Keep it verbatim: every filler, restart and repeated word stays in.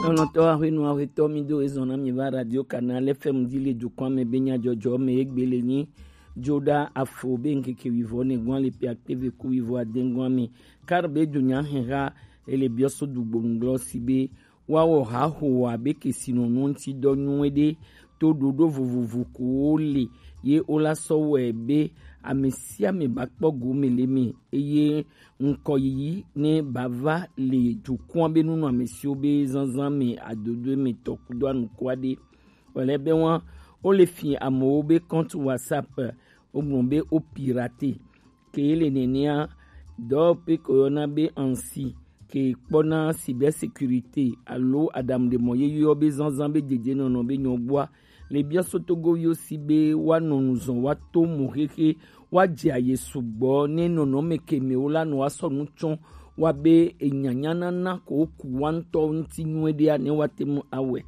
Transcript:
Lɔlɔ̃tɔ ahwenu ahwetɔ, mi do ezɔn na mi va Radio Canal F M di le dukɔa me be nyadzɔdzɔ me egbe le nyi. Joda afo be ŋkeke wivɔ ne gwan le pe akpeve ku wivɔ adengɔa me. Kar be dunya hɛha ele biɔso dugbo ŋglɔ si be woawɔ haho abe kesinɔnu ŋuti dɔ nyuie ɖe to ɖoɖo vovovo kowo le ye wola sɔ wɔe be ame sia ame ba kpɔ gome le me eye ŋkɔ yiyi ne ba va le dukɔa be nunɔamesiwo be zanzan me adodo me tɔ kudo anuku aɖe. Wòle be wa wole fi amewo be compte WhatsApp wogblɔ be wo pirate. Ke le nenea, dɔwɔƒe ke woyɔna be ANSSI ke kpɔna cybersécurité alo aɖaŋuɖemɔ ye yɔ be zanzan be dedienɔnɔ be nyɔgbɔa le biɔso togoviwo si be woanɔ nu zɔn woato mo xexe woadze aye sugbɔ ne nɔnɔme ke me wola nɔ woasɔ nu tsɔ wa be enyanyanana ko woku wa ŋutɔ ŋuti nyuie ɖea ne woate ŋu awɔe.